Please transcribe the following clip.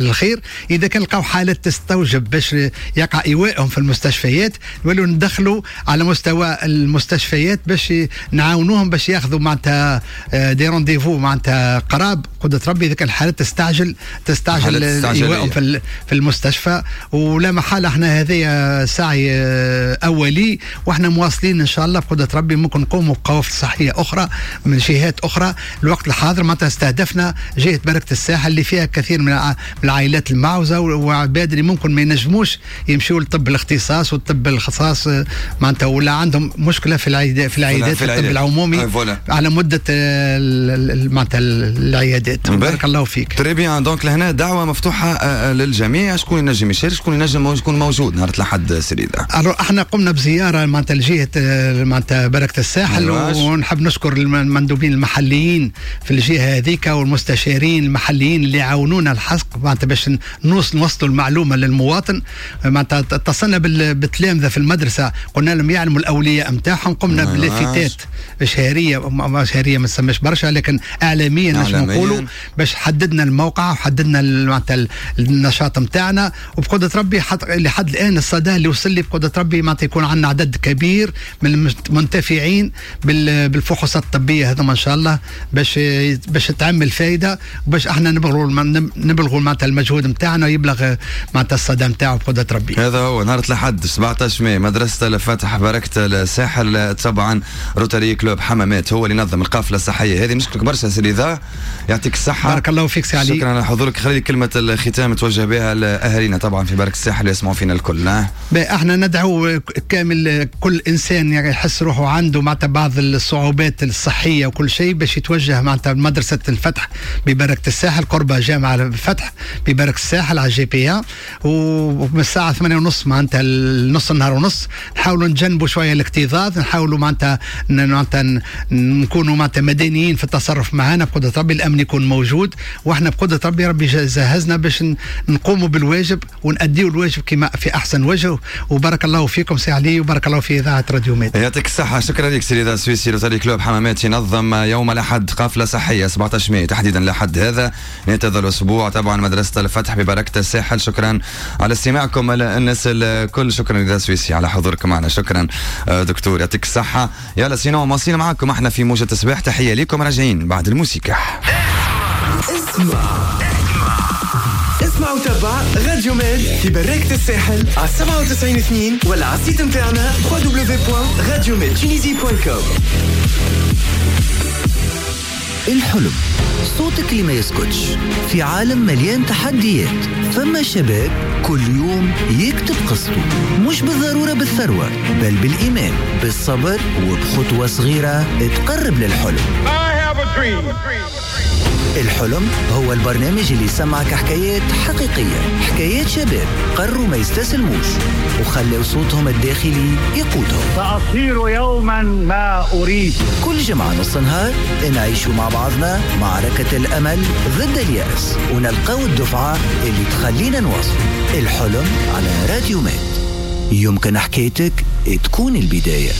الخير. اذا كان لقاو حالات تستوجب باش يقع ايوائهم في المستشفيات، نولوا ندخلوا على مستوى المستشفيات باش نعاونوهم باش ياخذوا معناتها des rendez-vous معناتها قراب قدرة ربي، اذا كان الحالات تستعجل ايوائهم في المستشفى. ولا محالة احنا هذه سعي اولي، واحنا مواصلين ان شاء الله بقدره ربي، ممكن نقوموا بقوافل صحية اخرى من جهات اخرى. الوقت الحاضر معناتها استهدفنا جهة بركة الساحل اللي فيها كثير من العائلات المعوزه وعباد اللي ممكن ما ينجموش يمشوا لطب الاختصاص، والطب الاختصاص معناتها ولا عندهم مشكلة في العيادات في الطب العمومي على مده معناتها العيادات. بارك الله فيك. très bien، donc لهنا دعوه مفتوحة للجميع، شكون ينجم يشارك، شكون ينجم يكون موجود نهار الاحد سي رضا؟ احنا قمنا بزيارة معناتها لجهة معناتها بركة الساحل، ونحب نشكر المندوبين المحليين في الجهة هذيك والمستشارين المحليين اللي عاونونا الحق معناتها باش نوصلوا المعلومة للمواطن. معناتها اتصلنا بالتلامذه في المدرسه، قلنا لهم يعلموا الاولياء نتاعهم. قمنا بلافتات شهريه، شهرية ما تسمىش برشا، لكن اعلاميا نجم نقولوا باش حددنا الموقع وحددنا معناتها النشاط نتاعنا. وبقدره ربي لحد الان الصدى اللي وصل لي بقدره ربي معناتها يكون عندنا عدد كبير من المنتفعين بالفحوصات الطبية هذوما ان شاء الله، باش تعم الفائدة وباش احنا نبلغوا معناتها المجهود نتاعنا ويبلغ معناتها الصدى نتاعو بقدره ربي. هذا هو نهار الاحد 17 ماي، مدرسه الفتح بركة الساحل، طبعا Rotary Club حمامات هو اللي نظم القافلة الصحية هذه. نشكرك برشا سي رضا، يعطيك الصحه. بارك الله فيك سي علي. شكرا على حضورك. خلي كلمة الختام توجه بها لاهالينا طبعا في بركة الساحل يسمعوا فينا الكل. احنا ندعو كامل كل انسان يعني يحس روحه عنده معناتها بعض الصعوبات الصحية وكل شيء باش يتوجه معناتها مدرسه الفتح ببركة الساحل، قرب جامعه الفتح ببركة الساحل على GP، ومن الساعة 8:30 معناتها نص النهار ونص. نحاولوا نتجنبوا شوية الاكتظاظ، نحاولوا معناتها نكونوا معناتها مدنيين في التصرف معنا. بقدره ربي الامن يكون موجود، واحنا بقدره ربي ربي جهزنا باش نقوموا بالواجب ونأديوا الواجب كما في احسن وجه. وبارك الله فيكم سي علي، وبارك الله في اذاعة راديو ميد. يعطيك الصحه، شكرا لك سي رضا السويسي. Rotary Club حمامات ينظم يوم الاحد قافله صحية 17 ماي تحديدا، الاحد هذا نهاية هذا الاسبوع، طبعا مدرسه الفتح ببركة الساحل. شكرا على استماعكم الناس الكل، شكرا رضا السويسي على حضوركم معنا، شكرا دكتور، يعطيك الصحه. يلا sinon مواصلين معكم احنا في موجة الصباح، تحية لكم، راجعين بعد الموسيقى. اسمع اسمع وتابع راديو ميد في بركة الساحل على 97.2 ولا على ال site نتاعنا www.radiomedtunisie.com. الحلم، صوتك اللي ما يسكتش في عالم مليان تحديات. فما شباب كل يوم يكتب قصته، مش بالضرورة بالثروة، بل بالإيمان، بالصبر، وبخطوة صغيرة تقرب للحلم. I have a dream. الحلم هو البرنامج اللي يسمعك حكايات حقيقية، حكايات شباب قرروا ما يستسلموش وخلوا صوتهم الداخلي يقودهم. سأصير يوما ما أريد. كل جمعة نص نهار نعيشوا مع بعضنا معركة الأمل ضد اليأس ونلقاو الدفعة اللي تخلينا نواصل. الحلم على راديو ميد، يمكن حكايتك تكون البداية.